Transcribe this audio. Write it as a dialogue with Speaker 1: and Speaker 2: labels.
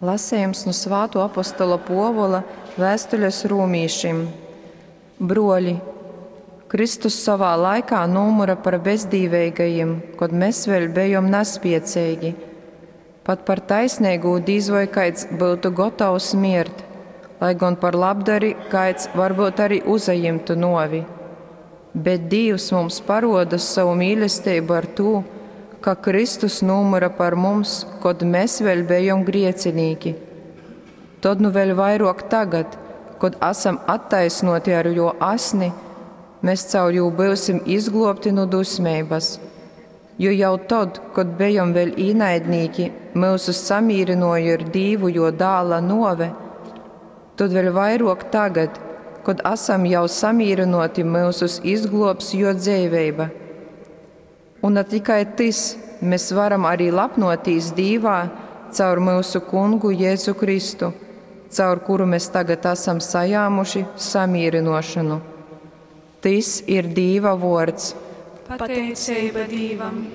Speaker 1: Lasejums nu Svātuo apostola Puovula vēstules rūmīšim. Bruoļi, Kristus sovā laikā nūmyra par bezdīveigajim, kod mes vēļ bejom naspieceigi. Pat par taisneigū dīz voi kaids byutu gotovs miert, lai gon par labdari kaids varbyut arī uzajimtu nuovi. Bet Dīvs mums paruoda sovu mīlesteibu ar tū, ka Kristus nūmyra par mums, kod mes vēļ bejom griecinīki. Tod nu vēļ vairuok tagad, kod asam attaisnuoti ar juo asni, mes caur jū byusim izgluobti nu dusmeibys. Jo jau tod, kod bejom vēļ īnaidnīki, myusus samīrynuoja ar Dīvu juo dāla nuove, tod vēļ vairuok tagad, kod asam jau samīrynuoti, myusus izgluobs juo dzeiveiba. Un ne tikai tys, mes varam arī lepnotīs Dīvā caur myusu Kungu Jēzu Kristu, caur kuru mēs tagad asam sajāmuši samīrynuošonu. Tys ir Dīva vuords.
Speaker 2: Pateiceiba Dīvam!